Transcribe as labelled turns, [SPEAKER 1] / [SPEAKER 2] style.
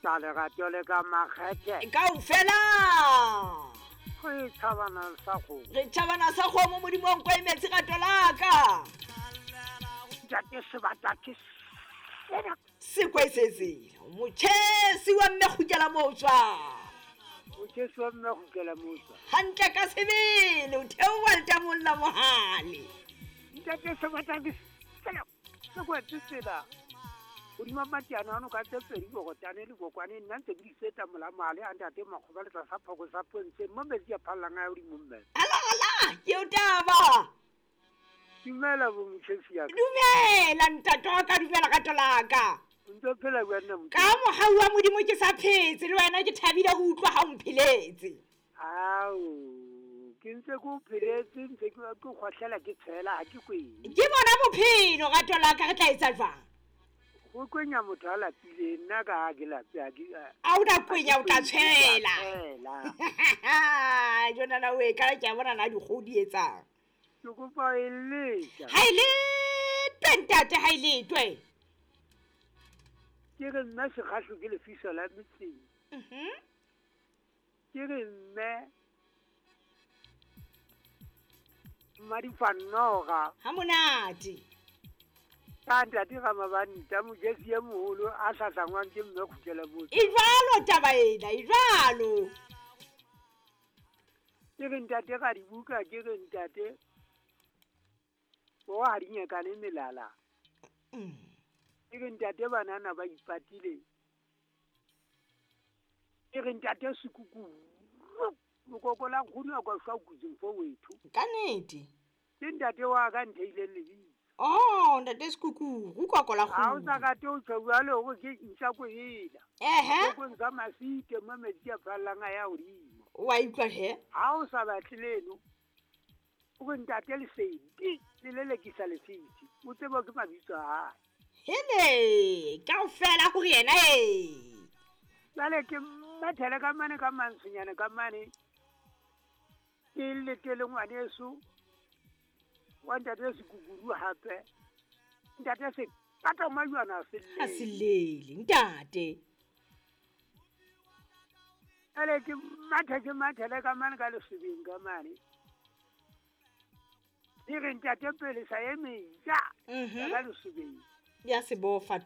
[SPEAKER 1] Ka lerato le ka makgethe.
[SPEAKER 2] Kaofela.
[SPEAKER 1] Re tšhabana sa kgomo.
[SPEAKER 2] Re tšhabana sa kgomo Modimo wa nko e metsi rato la ka.
[SPEAKER 1] Ntate sebata ke sena.
[SPEAKER 2] Sekwe se tsela. Motjhesi wa mme kgutlela motswa.
[SPEAKER 1] Motjhesi wa mme kgutlela motswa.
[SPEAKER 2] Hantle ka sebele o theoha letamong la mohale.
[SPEAKER 1] Ntate sebata ke sena. Se kwetse tsela hodima matiana ano ka tse pedi bokotane le bokwane nna ntse ke di feta molamale a ntate makgoba le tlasa phoko sa pontsheng mo metsi a phallang a ya godimo mme.
[SPEAKER 2] Ala ala ke o taba.
[SPEAKER 1] Dumela bo motjhesi ya ka.
[SPEAKER 2] Dumela ntate wa ka dumela rato la ka.
[SPEAKER 1] O ntse o phela jwang nna
[SPEAKER 2] Ka mohau wa Modimo ke sa phetse le wena ke thabile ho utlwa ha o mpheletse.
[SPEAKER 1] Ao, ke ntse ke o pheletse ntse ke ke kgohlela ke tshela ha ke kwene.
[SPEAKER 2] Ke bona bophelo rato la ka re tla etsa jwang?
[SPEAKER 1] Go kwenya motho a lapile nna ka ha ke lape ha ke
[SPEAKER 2] A o na kwenya o tla tshela.
[SPEAKER 1] Tshela.
[SPEAKER 2] Jonana o e ka ke a bona na dikgoho di etsang.
[SPEAKER 1] Ke kopa e letsa.
[SPEAKER 2] Ha e letwe ntate ha e letwe.
[SPEAKER 1] Ke re nna sekgahlo ke lefiso la metseng. Ke re mme Mmadifanoga.
[SPEAKER 2] Ha monate.
[SPEAKER 1] Ka ntate ga mabanta mojesi e moholo a hlahlangwang ke mme kgutlela motse.
[SPEAKER 2] E jwalo taba ena, e jwalo.
[SPEAKER 1] Ke re ntate ga dibuka, ke re ntate bo ha di nyakane melala. Ke re ntate banana ba ipatile. Ke re ntate sekuku mokoko la nkgono a kwa shwa kutseng fo wethu.
[SPEAKER 2] Ka nnete.
[SPEAKER 1] Ke ntate wa ka ntheileng lebitso.
[SPEAKER 2] Oh, ntate Sekuku, koko la
[SPEAKER 1] Ha o
[SPEAKER 2] kgomo.
[SPEAKER 1] sa rate ho tjho jwalo hore ke ntja ko ela.
[SPEAKER 2] Ehe.
[SPEAKER 1] Kokong sa masite mo metsi a phallang a ya hodimo.
[SPEAKER 2] Wa utlwa he?
[SPEAKER 1] Ha o sa batle leno, o re ntate Lesedi, le lelekisa lefiti. O tseba ke mabitso a hae.
[SPEAKER 2] Hele, kaofela hore yena e.
[SPEAKER 1] Jwale ke mathele ka mane ka mantshonyana ka mane. Ke letele ngwaneso wa ntate Sekukuru hape. Ntate se kata majwana a
[SPEAKER 2] Ha
[SPEAKER 1] sellele.
[SPEAKER 2] selele ntate.
[SPEAKER 1] Jwale ke mathe ke mathele ka mane ka lesebeng ka mane. Ke re ntate pele sa e meja. Ka lesebeng.
[SPEAKER 2] Ya sebofa